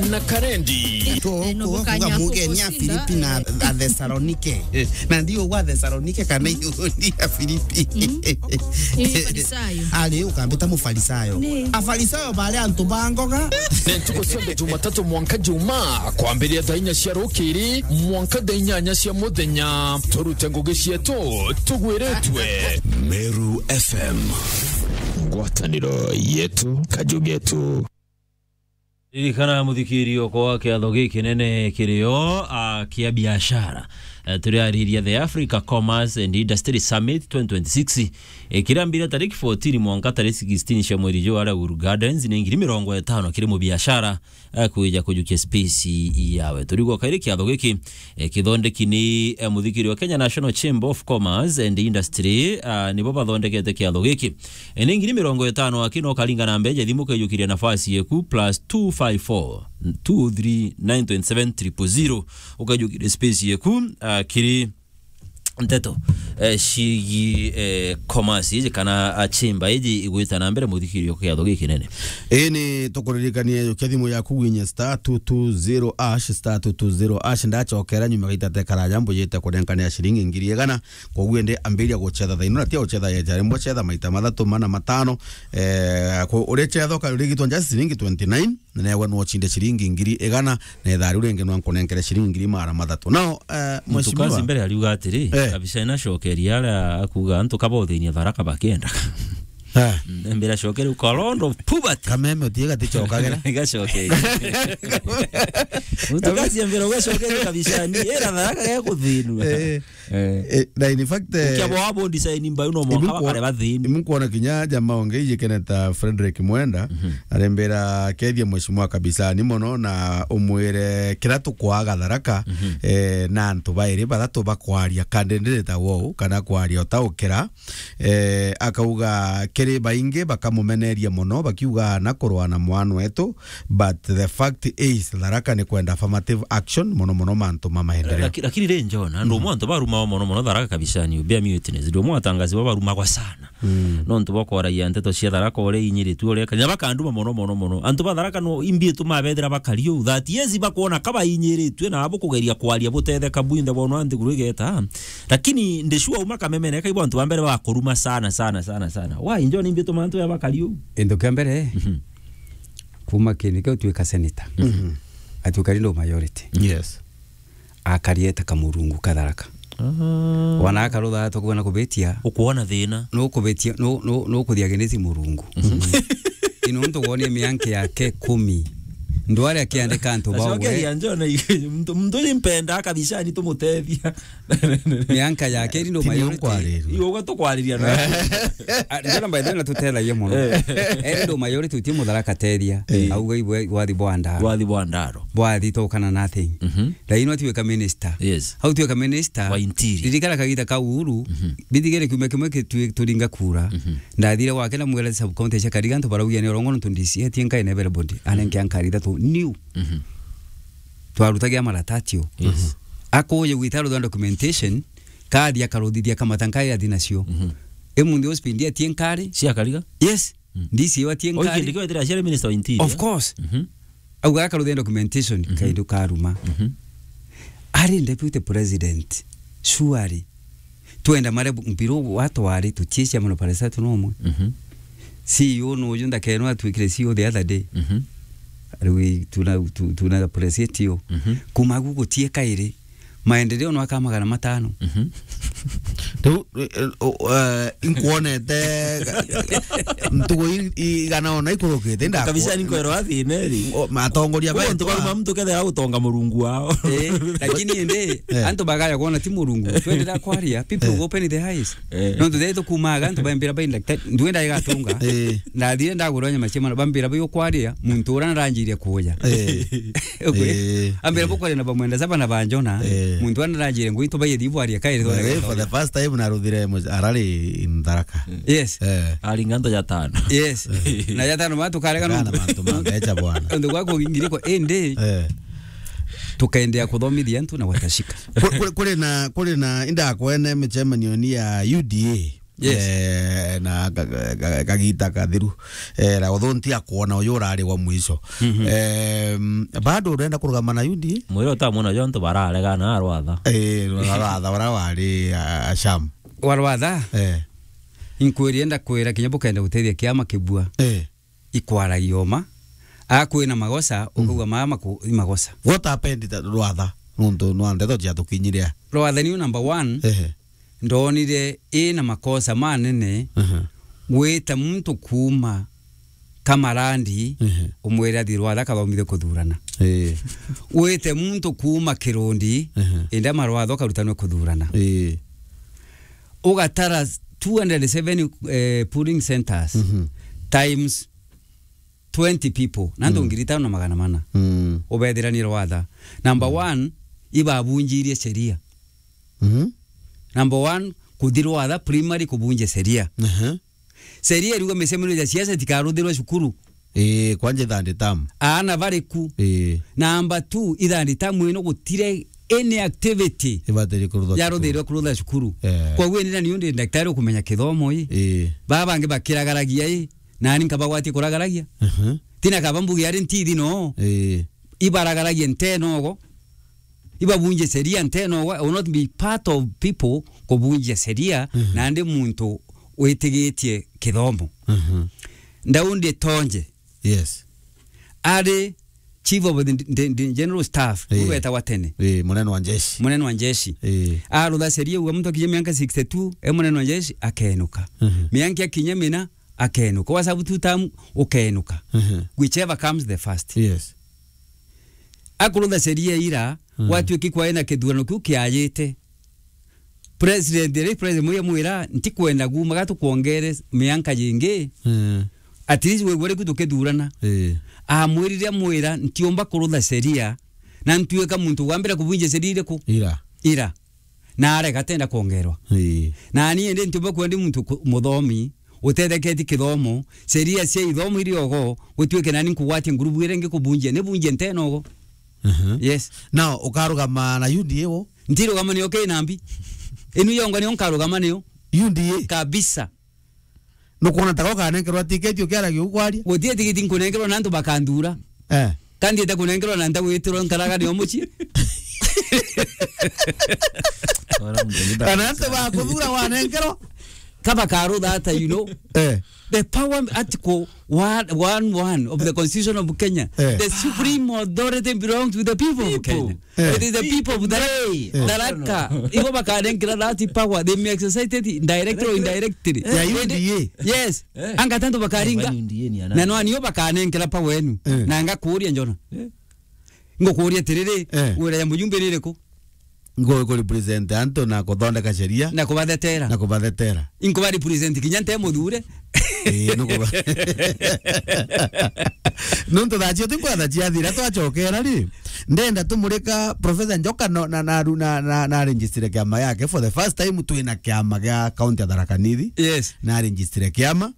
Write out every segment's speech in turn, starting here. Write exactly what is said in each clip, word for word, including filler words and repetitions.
na Karendi. To, eh, no kuga, kuga mugeni a Filipi na Athesalonike. Na ndio wa Athesalonike kana Yuoni ya Filipi. Mm. Ni Farisayo. Ari ukambita Mufarisayo. Ni. Afarisayo bari antu ba ngoga. Ni ntuku cionthe Jumatatu mwanka Juma, kwambiria thaa inya cia rukiri mwanka thaa inyanya cia muthenya. Turute ngugi cietu, tugwiritwe. Meru F M. Ngwataniro yetu, kaju getu. Ririkana, muthikirio, kwa kiatho gikinene kirio, a, kia biashara. E, turiariria the Africa Commerce and Industry Summit twenty twenty-six, e, kirambire tariki fourteen mwanka tariki sixteen cia mweri juu aria Uhuru Gardens, ni ngiri mirongo itano kiri mubiashara, e, kwija kujukia space yawe. Turigwa kairi kiatho giki, e, kithondeki ni, e, muthikirio Kenya National Chamber of Commerce and Industry, a, nibo bathondekete kiatho giki. E, ni ngiri mirongo itano aki no karinga na mbeja thimu kaijukiria nafasi yeku plus two five four, two three nine twenty seven triple zero. Ukaijukiria space yeku, a, kiri nteto, e, ciigi, e, commerce iji kana, a, chamber iji igwita na mbere muthikirio kiatho gikinene. Ii ni tukuririkanie, jukia thimu yaku gwinye star two two zero hash, star two two zero hash, ndachokera nyuma gaita tekaraja mbujite kurenkania ciringi ngiri igana. Koguo indi ambiria gucetha thaino, na tia gucetha yeja rimwe, cetha maita mathatu, mana, matano. Eh, ku-, uricetha ukarigitwa nja ciringi twenty nine, na newe no uchinde ciringi ngiri igana, na ithaa riu ringi no nkunenkere ciringi ngiri magana mathatu. Now, eh, Mheshimiwa, mbere ariuga atiri, eh, kabisa inacokeria aria akuga antu kabothinia Tharaka bakienda. Eh. Mm, mbere acokere uka round of poverty. Kameme utiga ticokagira. Igacokeria. Mutukazi mbere ugacokeria kabisa ni, era Tharaka gekuthinua. Eh. Eh. Eh, na in fact, eh, ukiabo wabo design mbayo no mwaka ibu kwa-, bakare bathini. Ibu kuona kinya jamaa onge ijikeneta Frederick Mwenda, mhm, arembera kethia mheshimiwa kabisa ni mono na umwire kira tukwaga Tharaka, mhm, eh, na antu bairi bathatu bakwaria candidate ta wou, kana kwaria utaukira, eh, akauga kiri baingi bakamumeneria mono, bakiuga na kurwa na mwana wetu, but the fact is, Tharaka ni kwenda affirmative action, mono mono mantu ma maendeleo. Laki-, lakini ri John, andu, mhm, mwe antu barumagwa mono mono Tharaka kabisa ni ubia mi witness. Ndio mwe atangazi baba barumagwa sana. Mm. No antu bakwaragia nteto cia Tharaka uria inyiritue uria, na bakanduma mono mono mono. Antu ba Tharaka no imbi tu mabethira bakari u. That yes, bakwona kaba inyiritue na abo kugeria kwaria butetheka bwinthe bono anti kurigeta. Lakini ndishua uma kamemene kai bantu ba mbere bakuruma sana sana sana sana. Wa injo ni imbi tu mantu ya bakari u. Indo kia mbere, mhm, kuma kini kio tuika senator. Mhm. Atuika ri ndo majority. Yes. Akarieta kamurungu ka Tharaka. Ah. Wana akarutha tukuona kubitia. Ukuona thina. No kubitia, no, no, no kuthia genesi murungu. Mhm. Ino ntu wonie mianke yake kumi. Ndware akiandika antu bawe. Acokeria John, muntu, muntu uyu mpenda kabisa ni tumutethia. Mianka yake iri ndo ti majority. Nio nkwariria. Iyo uga tukwariria na. Ah, John, by the way, na tutethagia muno. Eh. Eri ndo majority uti Mutharaka tethia. Eh. Auga ibwe wathi bwanda. Wathi bwandaro. Bwathi tokana nothing. Mhm. Lakini watuika minister. Yes. Au tuika minister. Wa interior. Ririkana kagita ka Uhuru. Mhm. Bithigere kiumia kimwe kitui-, turinga kura. Mhm. Ndathire gwake na mwira sub county cia Kariga, antu baraugia ni urongo nontu D C etie nkae na everybody. Anenke ankari ithatu new. Mhm. Twarutagia maratatio. Yes. Akuye gwita rutha documentation, kathi akaruthithia kamata nkai athi nacio. Mhm. Imunthi uspindi etie nkari. Cia Kariga? Yes. Mm. D C etie nkari. Oikindikio etire aciari minister wa interior. Of course. Mhm. Auga akaruthia documentation, mhm, kaidu karuma. Mhm. Ari deputy president, surely. Twenda mare mpiru watwari tutie cia mono pale satu no mwe. Mhm. C E O no uju ndakeno atwikire C E O the other day. Mhm. Ari we tuna, tu-, tuna appreciate you. Mhm. Kuma gu gutie kairi. Maendeleo no aka magana matano. Mhm. Riu, eh, o, eh, inkuonete ntugu i-, igana ona ikurukite, ndaku- kabisa ni nkwero athine ri. O, matongoria. Kwa betu antu baruma a- muntu kethera gutonga murungu wao. Eh, lakini ende, eh, antu bagaya kuona ti murungu. Twendera kwaria, people, eh, go open the eyes. Eh. No ntu thaitu kumaga, antu bambira bai ndakta-, ndwenda igatunga. Eh. Ndathire ndagurwa nyama cia mwana, bambira bai ukwaria, muntu ura naranjirie kuja. Eh. Okay. Eh. Ambira, eh, bukwaria na bamwenda saba na banjona, eh, muntu ura naranjirie ngui tubaye thibu aria kairi. By the way, for the first time naruthire mu-, arari in Tharaka. Yes. Eh. Aringa nto ya tano. Yes. Eh. Na ya tano matu karega. Kana nuntu mantu ma mbecha bwana. Ndu gwa kugingirikwa indi. Eh. Tukaendelea kuthomithia antu na watashika. Ku-, ku-, kuri na, kuri na indakwene micemanio ni ya U D A. Yes. Eh, na ka-, ka-, ka-, kagita kathiru. Eh, na uthu ntiakwona uyu urari wa mwisho. Mhm. Em, bado urenda kurugama na U D A? Mwire utamwona jontu bararegana arwatha. Eh, rwatha bara wari, a, a, Sham. Warwatha? Eh. Inkwiri enda kwira kinya bukenda gutethia kiama kibua. Eh. Ikwaragia uma. Akwina magosa, mm, ukauga maya maku-, i magosa. What happened ta rwatha? Nontu nwa ndeto ciatukinyire. Rwatha niyo number one. Ehe. Ndonire ina makosa manene. Ehe. Gwita muntu kuuma Kamarandi, ehe, umwire athi rwatha kathomithie kuthurana. Ee. Wite muntu kuuma Kirundi, ehe, indi ama rwatha ukarutanwe kuthurana. Ee. Ugatara two hundred seven, eh, polling centers, mhm, times twenty people, na antu, mm, ngiri itano na magana mana. Mm. Ubethira ni rwatha. Number, mm, one, ibabunjirie sheria. Mhm. Number one, kuthi rwatha primary kubunjia sheria. Aha. Sheria iriuga micemanio ya siasa itikaruthirwe cukuru. Ii, kwanja ithandi tamu. Aana bari ku. Ii. Number two, ithandi tamu ino gutire any activity ibatiri kurutha cukuru, yaruthirwe kurutha cukuru. Eh. Koguo ni nani undi daktari ukumenya kithomo ii? Ii. Baba bangi bakiragaragia ii, nani nkabagwatie kuragaragia? Mhm. Tina kaba mbuge ari ntithi no. Ii. Ibaragaragia ntenogo. Ibabunjie sheria ntenogo. I will not be part of people kubunjia sheria, mhm, nandi muntu witigitie kithomo. Mhm. Ndaundi Tonje. Yes. Ari chief of the, the, the general staff, eh, ubetagwa tene. Eh, munene wa njeshi. Munene wa njeshi. Eh. Arutha sheria uga muntu akinyia mianka sixty-two, e munene wa njeshi, akenuka. Mhm. Mianka akinyia mina, akenuka. Wasabu two term, ukenuka. Mhm. Whichever comes the first. Yes. Akurutha sheria ira, mm, gwatuiki kwaina kithurano kiu kiajite. President, ri president mwiya mwira, ntikwenda guuma gatukwongere mianka jingi. Mm. At least wigwe riku tukithurana. Eh. Amwirire amwira, ntiumba kurutha sheria, na ntuika muntu wa mbere kubunjia sheria iriku? Ira. Ira. Na arega atenda kwongerwa. Eh. Na ni indi ntiumba kwenda muntu ku-, muthomi, utetheketie kithomo, sheria cia ithomo iri ogo, gutuike nani nkugwatia ngurubu iria ingi kubunjia, ni bunjie ntenogo. Mhm. Yes. Now, ukarugama na U D A wo? Ntirugama niyo ki nambi. Inu yongo niyo nkarugama niyo. U D A? Kabisa. Nukwona ta ukanenkerwa tiketi ukiaragia ukwaria? Guti tiketi nkunenkerwa na antu bakanthura. Eh. Kandi ita kunenkerwa na nta gwitirwa nkaraga nio mucii. Kana antu bakuthura wanenkerwa? Kaba karutha ata, you know. Eh. The power, article one, one, one of the constitution of Kenya. Eh. The supreme authority belongs to the people of Kenya. Eh. It is the people of Tharaka. Eh. Tharaka. Ibo bakanenkera that power. They may exercise it directly or indirectly. Ya U D A. Yes. Eh. Anga tantu bakaringa. Kwani U D A ni ana? Na no anio bakanenkera power enu. Eh. Na ngakuria njona. Eh. Ngukuria atiriri, eh, wira ya mujumbe ni iriku? Ngo ku represent antu na kuthondeka sheria. Na kubathetera. Na kubathetera. Inkuba represent kinya nte muthure. Ii, nukuba. Nontu thaa cio tinkwatha ciathira twacokera ri. Ndenda tumurika Professor Njoka no, na, na, na, na, na register kiama yake. For the first time twina kiama gia county ya Tharaka Nithi. Yes. Na register kiama.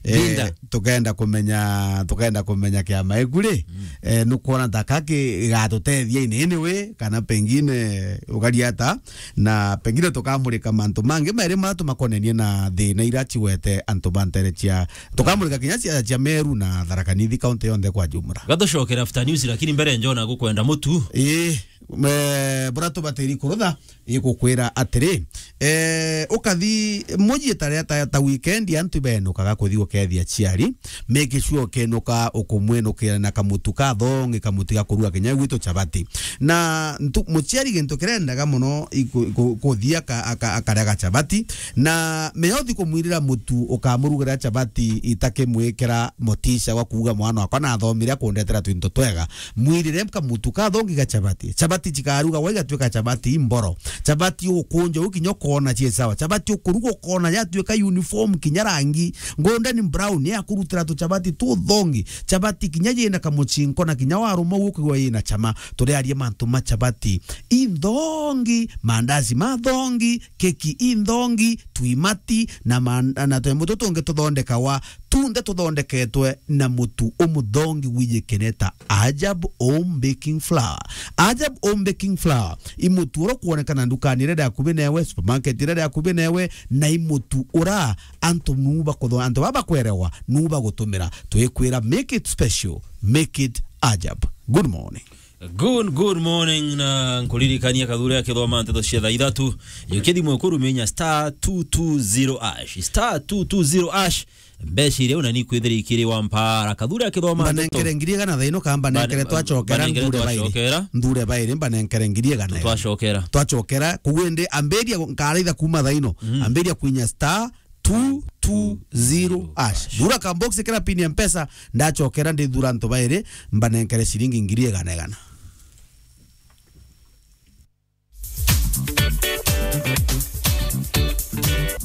Eh, tukenda kumenya, tukenda kumenya kiama iku ri, mm, eh, nukwona ta ka ki-, gigatutethia in any way, kana pengine ugaria ata, na pengine tukamurika mantu mangi mairi maria tumakonenie na thina iria cigwete antu ba ntere cia, tukamurika kinya cia, cia Meru na Tharaka Nithi county yonthe kwa jumla. Gatucokera after news, lakini mbere njona gukwenda mutu. Ii, me-, bura tubatiri kurutha, igukwira atiri, eh, ukathi muji ta ria ta, ta weekend, antu benukaga kuthi gukethia aciari, make sure ukenuka ukumwinukira na kamutu kathongi, kamutu ga kuruga kinya gwitu chapati. Na ntu-, muciari gintu kirendaga muno iku-, iku-, kuthi aka-, aka-, akaria gachapati, na meothi kumwirira mutu ukamurugira chapati itakimwikira motisha gwa kuuga mwana wakwa nathomire akundetera twinto twega. Mwirire kamutu kathongi ga chapati. Chapati chikaruga gwa igatuika chapati imboro. Chapati ukunja u kinya ukona cie sawa. Chapati ukuruga ukona yatuika uniform kinya rangi. Golden brown, ya kurutira tu chapati tu thongi. Chapati kinya yina kamuchinko na kinya waruma u ukigwa yina chama. Turiarie mantu ma chapati. Inthongi, mandazi ma thongi, keki inthongi, twimati na man-, na twembo tutungi tuthondekawa tunthe tuthondeketwe na mutu umuthongi wijikene ta Ajab Home Baking Flour. Ajab Home Baking Flour i mutu uria ukwonekana ndukani iria iri akuvi newe, supermarket iria iri akuvi newe, na i mutu uria antu nu bakutho-, antu baba bakwerewa nu bagutumira. Twikwira, make it special, make it Ajab. Good morning. Good, good morning, na nkuririkania Kathuri akithoma nteto cia thaa ithatu. Jukia thimu eku ruminya star two two zero hash. Star two two zero hash. Mbeca iria una ni kwithira ikiri wa mpara. Kathuri akithoma nteto. Mbanenkere ngiri igana thaa ino, ka mbanenkere Mbane-, twacokera mbanenkere nthure bairi. Twacokera. Nthure bairi, mbanenkere ngiri igana. Twacokera. Twacokera, koguo indi ambiria nkaraitha kuma thaa ino. Mhm. Ambiria kwinya star two two zero hash. Thura ka box kira pin ya Mpesa, ndacokera ndithura antu bairi, mbanenkere ciringi ngiri igana igana.